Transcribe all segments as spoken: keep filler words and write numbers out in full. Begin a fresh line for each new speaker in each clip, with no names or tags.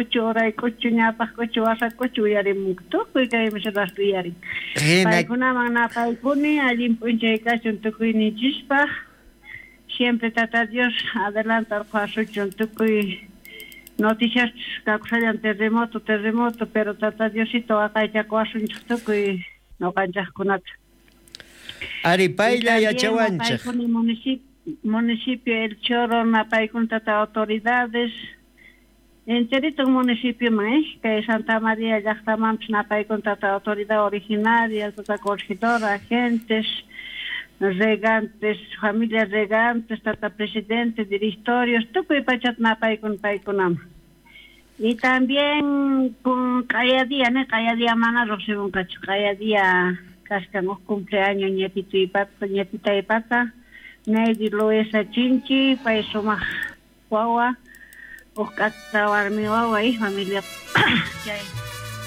k'uchu, uray k'uchu, ñawpaq k'uchu, wasa k'uchu uyarimunku, tukuy kay miserasta uyarin. Paykunaman napaykuni, allin p'unchay kachun tukuyninchispaq. Siempre Tata Dios adelante orqhasuchun tukuy noticias kakushallan terremoto, terremoto, pero Tata Diosito waqaychakuwasunchik tukuy noqanchaqkunata.
Ari paylla yachawanchik.
Municipio, municipio El Choro, napaykun tata autoridades, enterito municipio man, eh, kay Santa María llaqtamanpis napaykun tata autoridad originaria, tata corregidora, agentes, regantes, familias regantes, tata presidente, directorios, tukuy pachat napaykun paykunaman. Y también con cada día, ¿no? Cada día mana riqsimunqachu, cada día kaskan uj cumpleaños ñetito y pata, ñetita y pata, Neydi Loesa Chinchi, pay sumaq wawa, uj k'ata warmi wawa y familia chay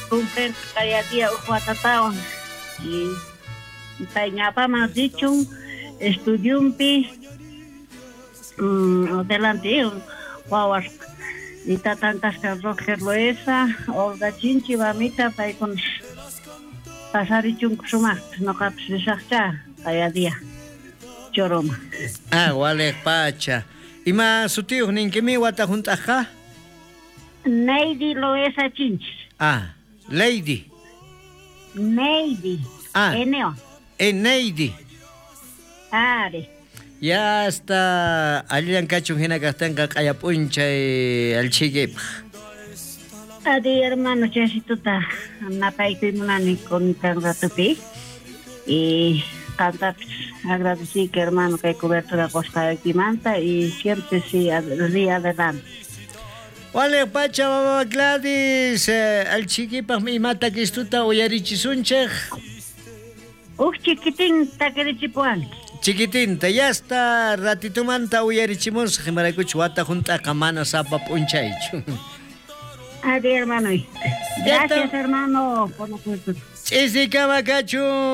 cumplen cada día uj watatawan. Y pay ñapaman richun estudiumpi, mm, adelante wawas. Y tatan kaskan Roger Loesa, Olga Chinchi, mamita, paykuna pasarichunku sumaqta, noqapis risaqcha kaya día Choroma.
Ah, waliq pacha. Ima sutiyuq ninkimi wata hunt'aqqa?
Neydi Loesa Chinchi.
Ah, Lady.
Neydi.
Ah.
Eneo.
Eh, Neydi.
Ari.
Ya hasta allillan kachun hina kaqtinqa q'aya p'unchay alchikipaq.
Adi hermano, chaysituta napaykuy munani con kan ratupi. Y qantapis agradeciki hermano kay cobertura qusqaykimanta y siempre sí ri adelante.
Waliq pacha mama Gladys, eh, alchikipaq ima takistuta uyarichisunchik.
Uj chiquitín takirichipuwanki.
Chiquitinta, ya está ratitumanta uyarichimusaq, imaraykuchu wata hunt'aqa mana sapa p'unchaychu.
Adi hermano. Gracias hermano por la cobertura.
Ch'isikama kachun.